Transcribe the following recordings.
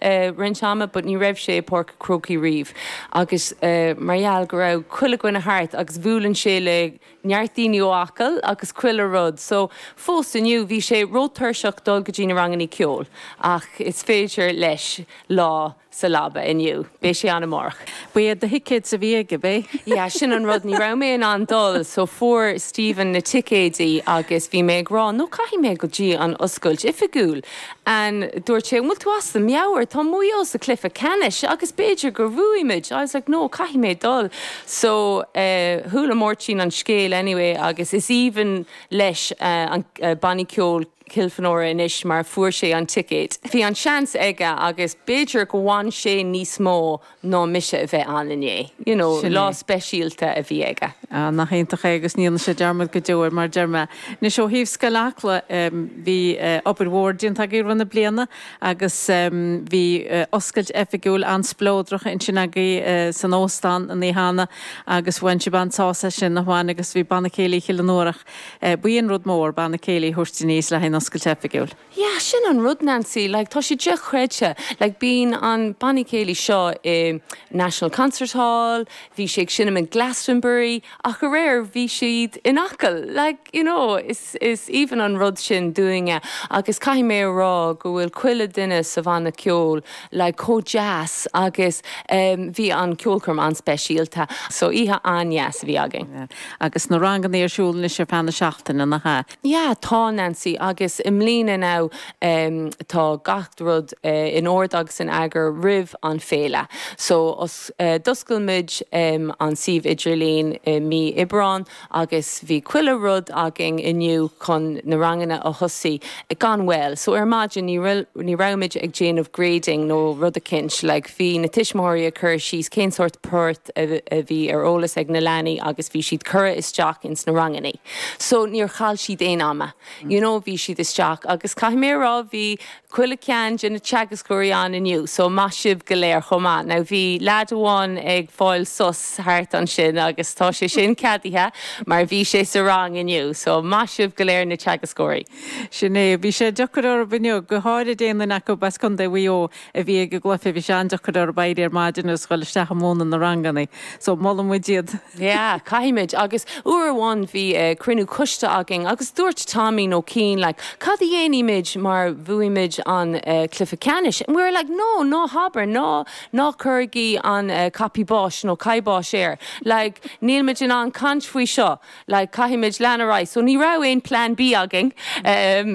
roinnt ama but ní raibh sé i Páirc a' Chrócaigh riamh agus mar gheall go raibh chuile dhuine thart agus bhuaileann sé le neart daoine ó Acaill agus chuile rud so fós inniu bhí sé rótuirseach dul go dtí na rangannaí ceoil ach is féidir leis lá sa leaba inniu. Beidh sé ann amárach. Ba iad do thicéid a bhí aige, ab é? Yeah, sin an rud, ní raibh mé in ann dul so fuair Stephen na ticéidí agus bhí mé ag rá no caithfidh mé go dtí an oscailt oifigiúil and dúirt sé an bhfuil tú as do meabhair, tá Maigh Eo sa cluiche ceannais agus b'fhéidir gur bhuaigh muid. I was like no caithfidh mé dul. So chuala Máirtín an scéal anyway agus is aoibhinn leis an banna ceoil Kilfenora anois mar fuair sé an ticéad. Bhí an seans aige agus b'fhéidir go bhain sé níos mó ná mise a bheith ann inné. You know, Sin lá é. speisialta a bhí aige. Ah, nach iontach é agus ní dhéanfaidh sé dearmad go deo air, mar a deir mé. Anois ó thaobh Scoil Acla, bhí obair mhór déanta agaibh i rith na bliana agus bhí oscailt oifigiúil an-spleodrach ansin agaibh san óstán an oíche cheana agus bhain sibh an-sásamh as sin, nach bhain, agus bhí Banna Céilí Chill na nDúrach Ba é an rud mór, banna céilí a thabhairt aníos le haghaidh an oscailt oifigiúil. Yeah, sin an rud, Nancy, like tá sé dochreidte. Like bíonn an banna céilí seo i National Concert Hall, bhí sé ag seinm in Glastonbury, ach aréir bhí siad in Acaill. Like, you know, is is aoibhinn an rud sin dúinne agus caithfidh mé a rá go bhfuil chuile duine sa bhanna ceoil like chomh deas agus bhí an ceolchoirm an-speisialta. So oíche an-dheas a bhí againn. Agus na ranganna ar siúl anois ar feadh na seachtaine, nach ea? Yeah, tá, Nancy, agus i mbliana now tá gach rud in ord agus in eagar roimh an féile. So d'oscail muid an suíomh idirlín i mí Aibreán agus bhí chuile rud againn inniu chun na ranganna a thosaí gan mhoill. So ar maidin ní ní raibh muid ag déanamh grading nó rud eicínt, like bhí na tuismitheoirí ag cur síos cén sórt port a bhí ar eolas ag na leanaí agus bhí siad curtha isteach ins na rangannaí. So níor chaill siad aon ama. You know bhí siad isteach agus caithfidh mé a rá bhí chuile ceann de na teagascóirí ann inniu so maith sibh go léir chomh maith. Now bhí leaid amháin ag fáil sos thart ansin agus tá sé sin ceadaithe mar bhí sé sa rang inniu so maith sibh go léir na teagascóirí. Sin é. Bhí sé deacair orthu inniu, go háirid aon duine acu as Contae Mhaigh Eo a bhí ag an gcluiche, bhí sé an-deacair orthu éirí ar maidin agus dhul isteach ag múineadh na ranganna. So molann muid iad. Yeah, caithfimid. Agus uair amháin bhí cruinniú coiste againn agus dúirt Tommy nó Cian like, cad a dhéanfaimid mar bhuaigh muid an cluiche ceannais? And we were like, no, ná habair, ná, ná cuirigí an cnaipí báis nó kibosh air. Like, níl muid in ann caint faoi seo. Like, caithfimid lean ar aghaidh. So ní raibh aon plan B againn.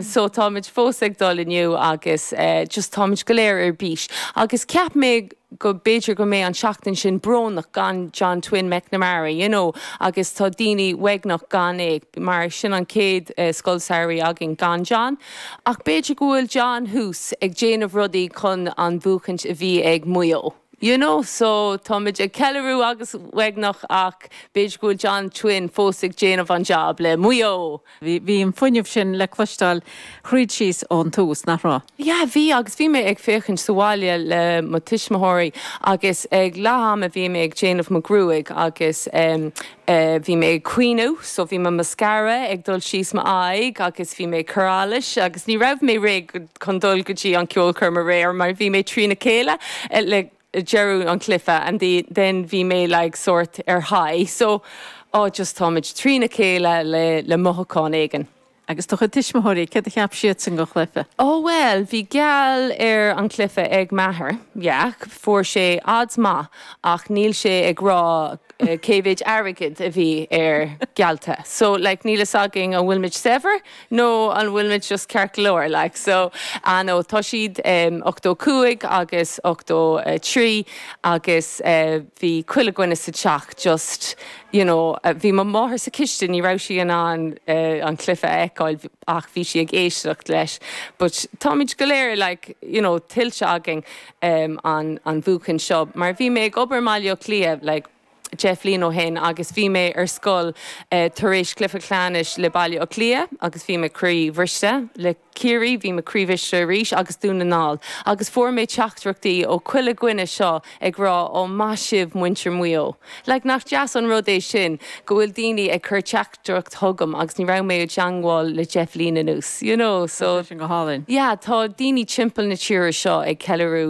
So táimid fós ag dul inniu agus just táimid go léir ar bís. Agus cheap mé go b'fhéidir go mbeidh an seachtain sin brónach gan John Twin McNamara, you know, agus tá daoine uaigneach gan é mar sin an chéad scoil samhraidh againn gan John. Ach b'fhéidir go bhfuil John thuas ag déanamh rudaí chun an bhuachaint a bhí ag Maigh Eo. You know, so táimid ag ceiliúradh agus uaigneach ach b'fhéidir go bhfuil John Twin fós ag déanamh an job le Maigh Eo! Bhí an fuinneamh sin le cloisteáil thríd síos ón tús, nach raibh? Yeah, bhí agus bhí mé ag féachaint sa bhaile le mo tuismitheoirí agus ag leath ama bhí mé ag déanamh mo gruaig agus Bhí mé ag caoineadh so bhí mo mascara ag dul síos m'aghaidh agus bhí mé ag cur allais agus ní raibh mé réidh chun dul go dtí an ceolchoirm aréir mar bhí mé trína chéile le deireadh an chluiche and then bhí mé like sort ar high so oh just táimid trína chéile le le mothúchán éigin. Agus do chuid tuismitheoirí, céard a cheap siadsan den chluiche? Oh bhuel, bhí geall ar an chluiche ag m'athair, yeah, fuair sé odds maith ach níl sé ag rá cé mhéid airgead a bhí air geallta. So like níl fhios againn an bhfuil muid saibhir nó an bhfuil muid just ceart go leor like so ah no tá siad 85 agus 83 agus bhí chuile dhuine sa teach just you know, bhí mo mháthair sa chistin, ní raibh sí in ann an cluiche a fheiceáil ach bhí sí ag éisteacht leis. But táimid go léir like, you know, tuillte againn an an bhuachaint seo mar bhí mé ag obair i mBaile Átha Cliath like 10 bhliain ó shin agus bhí mé ar scoil tar éis cluiche ceannais le Baile Átha Cliath agus bhí mé croíbhriste le Ciarraí, bhí mé croíbhriste arís agus Dún na nGall agus fuair mé teachtaireachtaí ó chuile dhuine seo ag rá ó maith sibh muintir Mhaigh Eo. Like nach deas an rud é sin go bhfuil daoine ag cur teachtaireacht chugam agus ní raibh mé i dteangmháil le 10 bhliain anuas, you know, so. Tá sé sin go hálainn. Yeah, tá daoine timpeall na tíre seo ag ceiliúradh.